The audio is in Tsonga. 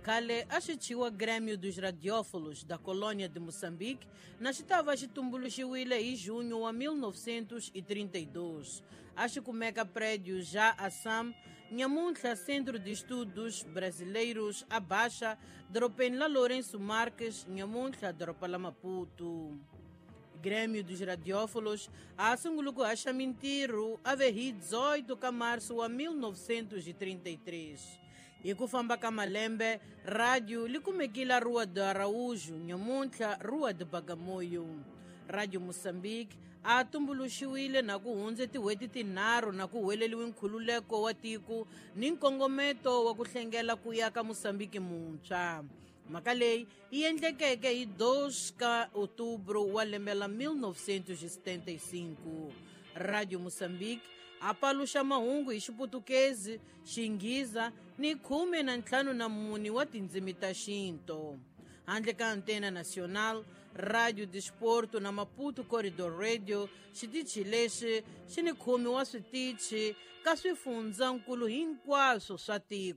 Khale a xi thyiwa Grêmio dos Radiófilos da Colônia de Moçambique na xi ta va xi tumbuluxiwile hi junho wa 1932. A xi kumeka prédio já Assam, nyamuntlha Centro de Estudos Brasileiros a Baixa, dorobeni la Lourenço Marques, nyamuntlha doroba la Maputo. Grêmio dos Radiófilos a sungule ku haxa mintirho a ve hi 18 ka março wa 1933. Hi ku famba ka malembe, radio li kumekile Rua de Araújo, nyamuntlha Rua de Bagamoyo. Radio Moçambique a tumbuluxiwile na ku hundze tin'hweti tinharhu na ku huweleliwe nkhululeko wa tiko ni nkongometo wa ku hlengela ku ya ka Moçambique muntshwa. Mhaka leyi yi endlekeke hi 2 ka outubro wa lembe la 1975. Radio Moçambique a paluxa mahungu hi Xiputukezi, Xinghiza ni 54 wa tindzimi ta xinto. Handle ka Antena Nacional, Radio Desporto na Maputo Corridor Radio, xitichi lexi xi ni khume wa switichi ka swifundzankulu hinkwaswo swa tiko.